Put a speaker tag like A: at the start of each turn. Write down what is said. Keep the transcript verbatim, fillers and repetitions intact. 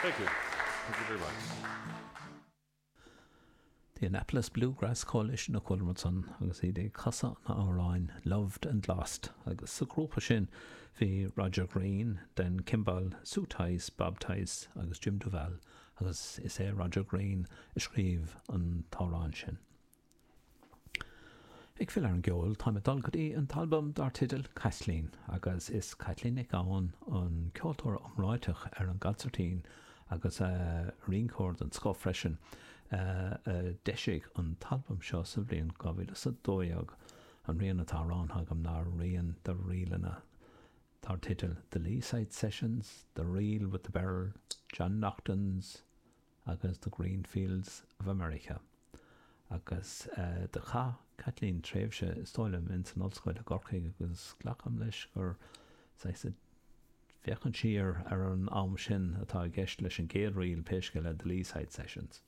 A: Thank you. Thank you very much.
B: The Annapolis Bluegrass Coalition a chuala ansan agus iad ag casadh an amhráin Loved and Lost agus sa grúpa sin bhí Roger Green, Dan Kimball, Sue Tice, Bob Tice agus Jim Duval agus is é Roger Green a scríobh an t-amhrán sin. Ag filleadh ar an gceol táim ag dul go dtí an t-albam dar teideal Caitlín agus is Caitlín Nic Gabhann an ceoltóir iomráiteach ar an gconsairtín agus a rinceoir den scoth freisin a d'eisigh an t-albam seo sa bhliain dhá mhíle is a dó dhéag. An rian atá roghnaithe agam ná rian de ríleanna dar teideal The Leeside Sessions, The Reel with the Beryl, John Naughton's agus The Green Fields of America. Agus uh, do chaith Caitlín tréimhse is dóigh liom in san ollscoil i gCorcaigh agus glacaim leis gur féachaint siar ar an am sin atá i gceist leis an gcéad ríl pé scéal é The Leeside Sessions.